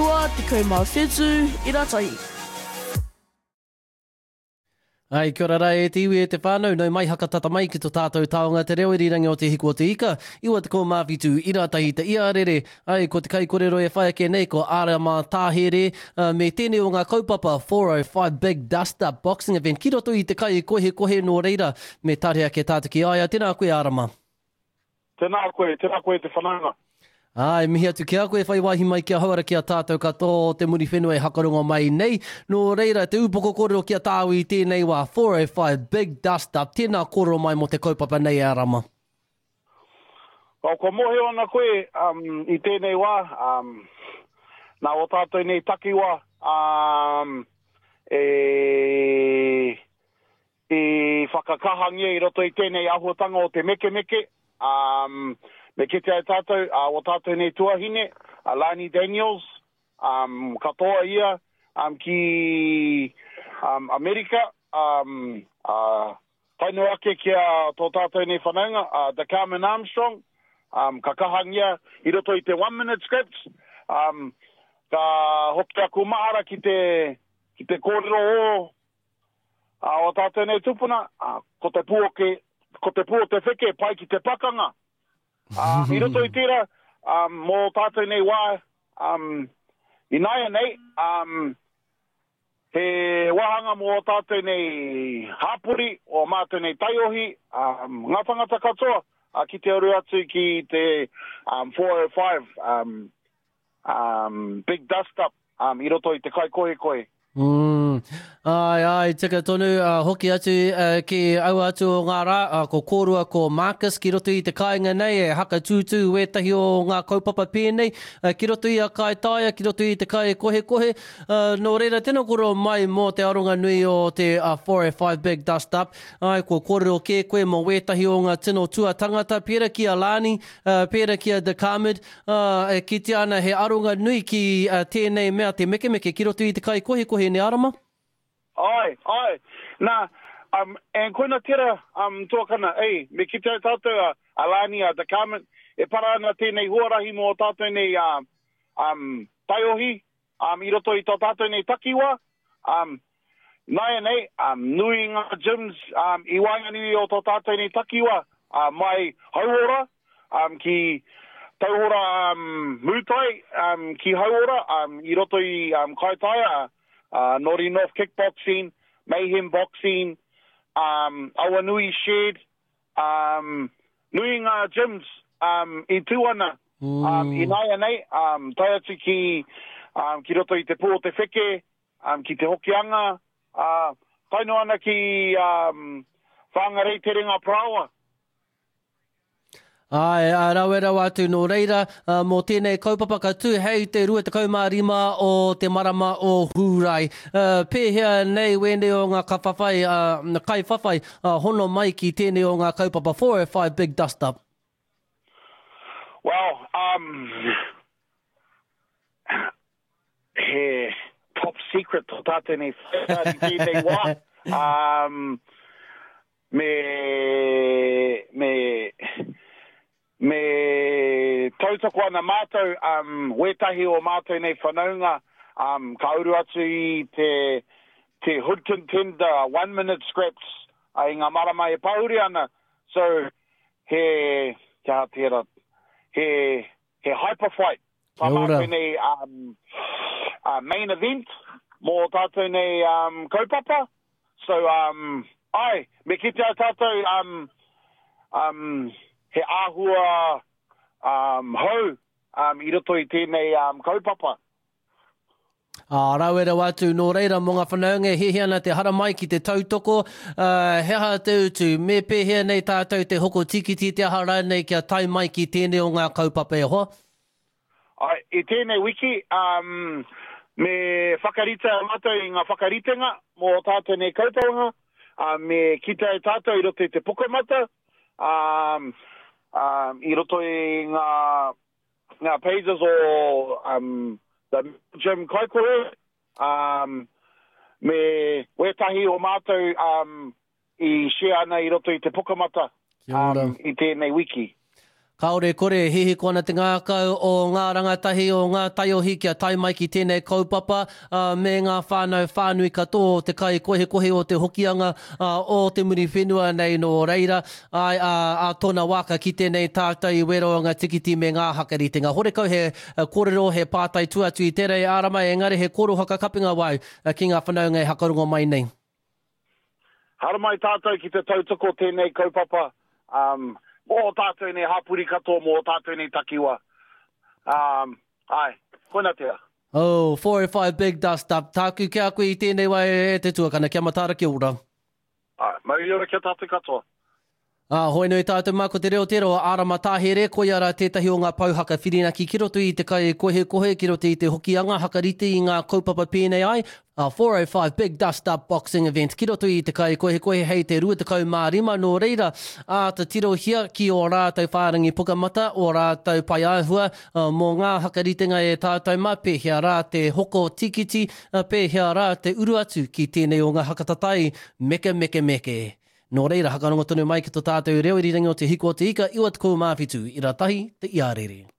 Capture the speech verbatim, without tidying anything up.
Iwa tekau mā whitu ira tahi. Ai, kia ora rā e te iwi e te whānau, nau mai hakatata mai ki to tātou taonga te reo irirangi o Te Hiku o Te Ika, iwa tekau mā whitu ira tahi te iarere. Ai, ko te kaikorero e whai ake nei ko Arama Tāhere, uh, me tēnei o ngā kaupapa four oh five Big Dust Up Boxing Event ki roto i te kai kohekohe nō reira, me tare ake tātou ki a ia. Tēnā koe, Arama. Tēnā koe, tēnā koe te whanaunga. Ai, mihi atu ki a koe, whai wāhi mai ki a hauara ki a tātou katoa o te Muriwhenua e hakarongo mai nei. Nō reira, te upoko kōrero ki a tāu i tēnei wā, four oh five Big Dust Up. Tēnā kōrero mai mō te kaupapa nei e Arama. Well, kua mōhio ana koe um, i tēnei wā, um, nā o tātou nei takiwa um, e, i whakakahangia i roto i tēnei ahuatanga o te mekemeke. Um, me kite ai tātou, uh, o tātou nei tuahine, uh, Lani Daniels, um, katoa ia um, ki um, Amerika, um, uh, taino ake ki a tō tātou nei whanaunga, uh, The Carmen Armstrong, um, ka kahangia i roto i te one minute scripts, um, ka hoki aku mahara ki te, ki te kōrero o, uh, o tātou nei tupuna, uh, ko te pūoke, ko te pū o te wheke, pai ki te pakanga. Um, i roto i tērā, um, mō tātou nei wā, um, inaia nei, um, he wāhanga mō tātou nei hāpori, o mātou nei taiohi, um, ngā tangata katoa, uh, ki te uru atu ki te um, four oh five um, um, Big Dust Up um, i roto i te kaikohekohe. Mm. Ai, ai, tika tonu, uh, hoki atu uh, ki aua atu o ngā rā, uh, ko kōrua ko Marcus ki roto i te kāinga nei, e hakatūtū wētahi o ngā kaupapa pēnei, uh, ki roto i a Kaitaia, ki roto i te kai kohekohe. Uh, nō reira, tēnā kōrero mai mō te aronga nui o te uh, four oh five Big Dust Up. Ai, ko kōrero kē koe mō wētahi o ngā tino tuatangata, pērā ki a Lani, uh, pērā ki a De Carmid, uh, e kitea ana he aronga nui ki uh, tēnei mea te mekemeke ki roto i te kai kohekohe ne Arama? Ai, ai. Nā, um, and koina tera um, tuakana, ei, me kite ai tātou a, a Lani, a De Carmen, e para ana tēnei huarahi mō tātou nei um, um, taiohi, um, i roto i tō tātou nei takiwa. Um, naia nei, um, nui ngā gyms um, i waenganui o tō tātou nei takiwa, uh, mai Hauora, um, ki Tauhora um, Mūtai, um, ki Hauora, um, i roto i um, Kaitaia, Uh, Nori North Kickboxing, Mayhem Boxing, um, Awanui Shed, um, nui ngā gyms um, i tū ana mm. um, i naia nei, um, tae atu ki, um, ki roto i te pō o te wheke, um, ki te Hokianga, uh, tae noa ana ki um, Whangarei Terenga Paraoa. Ai, a rawe rawa atu nō reira, uh, mō tēnei kaupapa ka tū hei te rua tekau mā rima o te marama o Hūrai. Uh, pēhea nei wēnei o ngā kawhawhai, uh, kaiwhawhai, uh, hono mai ki tēnei o ngā kaupapa four oh five Big Dust Up? Well, um, he top secret tō tātou nei whai tēnei wā. Um, me, me, me tautoko ana mātou, um, wētahi o mātou nei whanaunga, um, ka uru atu i te, te Hood Contender one minute scraps uh, i ngā marama e pahuri ana. So, he, kia tērā, he, he hyper fight. Tā mātou nei um, uh, main event mō tātou nei um, kaupapa. So, um, ai, me kite ai tātou um, um, he āhua um, hou um, i roto i tēnei um, kaupapa. Ā, rawe rawa atu, nō reira mō ngā whanaunga e hiahia ana te haramai ki te tautoko, uh, he aha te utu, me pēhea nei tātou te hoko tikiti te aha rānei kia tae mai ki tēnei o ngā kaupapa e hoa? Ai, i tēnei wiki, um, me whakarite mātou i ngā whakaritenga mō tātou nei kaupapa, uh, me kite ai tātou i roto i te pukamata, um, um, i roto i ngā, ngā pages o um, the Gym Kaikore, um, me wētahi o mātou um, i share ana i roto i te pukamata um, i tēnei wiki. Kāore kore, hihiko ana te ngākau o ngā rangatahi o ngā taiohi kia tae mai ki tēnei kaupapa, ā, me ngā whānau whānui katoa o te kaikohekohe o te Hokianga, ā, o te Muriwhenua nei nō reira, āe, ā, ā tōna wā ka kite nei tātou i wero ngā tikiti me ngā hakaritenga. Horekau he kōrero, he pātai tua atu i tērā e ārama, engari he kōrero whakakapinga wau ki ngā whanaunga e hakarongo mai nei. Haramai tātou ki te tautoko tēnei kaupapa, um, mō ō tātou nei hapori katoa, mō ō tātou nei takiwa. Um, āe, koina tērā. Oh, four oh five big dust up. Tāku ki a koe i tēnei wā e te tuakana, kia mataara, kia ora. Āe, mauri ora ki a tātou katoa. Ā, hoi nui tātou mā, ko te reo tērā o Ārama Tāhere, koia rā tētahi o ngā pou haka whirinaki ki roto i te kai kohekohe, ki roto i te Hokianga, hakarite i ngā kaupapa pēnei ai, ā, four oh five Big Dust Up Boxing Event ki roto i te kai kohekohe hei te rua tekau mā rima, nō reira, āta tirohia ki ō rātou whārangi pukamata, ō rātou paeāhua, ā, mō ngā hakaritenga e tātou mā, pēhea rā te hoko tīkiti, ā, pēhea rā te uru atu ki tēnei o ngā hakatatai mekemekemeke. Nō reira, hakarongo tonu mai ki to tātou reo irirangi o Te Hiku o Te Ika, iwa tekau mā whitu, ira tahi, te iarere.